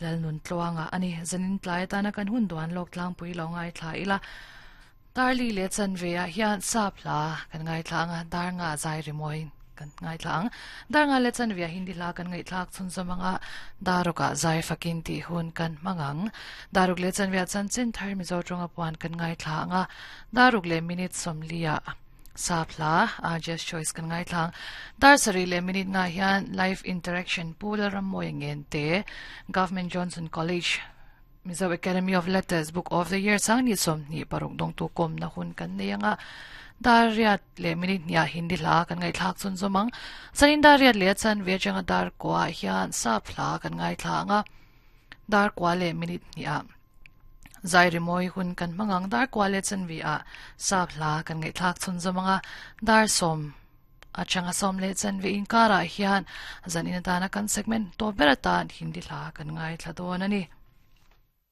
Lalnuntluanga a ni. Zanin tlai atana kan hun duan lawk tlangpui lo ngaithla ila. Darli leh chanve ah hian sap hla kan ngaithla ang a, dar nga zai rimawi kan ngaithla ang. Dar nga leh chanve ah Hindi hla kan ngaihthlak chhunzawm ang a, daruk ah zai fakin tih hun kan hmang ang. Daruk leh chanve ah chanchin thar Mizo tawnga puan kan ngaithla ang a, daruk leh minute 40 ah sap hla Just Choice kan ngaithla ang. Dar sarih leh minute nga hian Live Interaction Pu Lalrammawia Ngente, Government Johnson College, Mizo Academy of Letters Book of the Year sang ni 26 dawngtu kawmna hun kan nei anga dar riat leh minute hniah Hindi hla kan ngaihthlak chun zawm ang. Zanin dar riat leh a chanve atanga dar kuah hian sap hla kan ngaithla anga dar kuah leh minute hniah zai rimawi hun kan hmang ang. Dar kuah leh chanve ah sap hla kan ngaihthlak chun zawm anga dar sawm atanga sawm leh chanve inkarah hian zanin atana kan segment tawp ber atan Hindi hla kan ngaithla dawn a ni.